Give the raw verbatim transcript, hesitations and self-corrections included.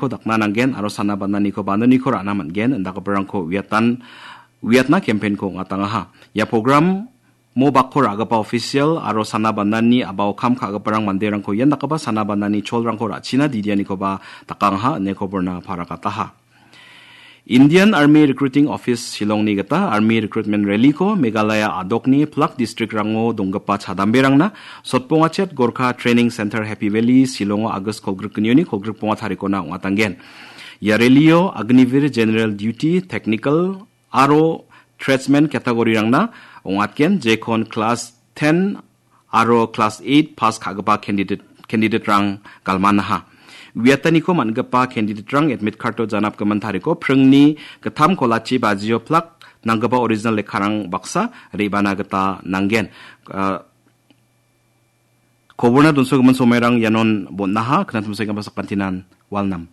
dakna nanggen aro sana bananiko banoniko ra·na man·gen, indakgiparangko uiatan, uiatna campaign-ko ong·atangaha. Ia program mo bakko ra·gipa official aro sana banani a·bao kam ka·giparang manderangko ian dakgipa sana banani cholrangko ra·china didianikoba dakangaha ine koborna parakataha. Indian Army Recruiting Office Shillongni gita Army Recruitment Rally-ko Meghalaya a·dokni plak district-rango donggipa chadamberangna Sotbongachet Gorkha Training Center Happy Valley Shillongo August kolgrik gnioni kolgrik bonga tarikona ong·atanggen. Ia rally-o Agniveer General Duty, Technical aro Tradesman category-rangna ong·atgen, jekon class ten aro class eight pass ka·gipa candidate, candidate-rang galmanaha. Uiataniko man·gipa candidate-rang admit card-o janapgimin tariko pringni gittam kolachi bajio plak nanggipa original lekkarang baksa re·bana gita nanggen. Ah, koborna donsogimin somairang ianon bon·aha, knatimsoenggipa sakantinan walnam.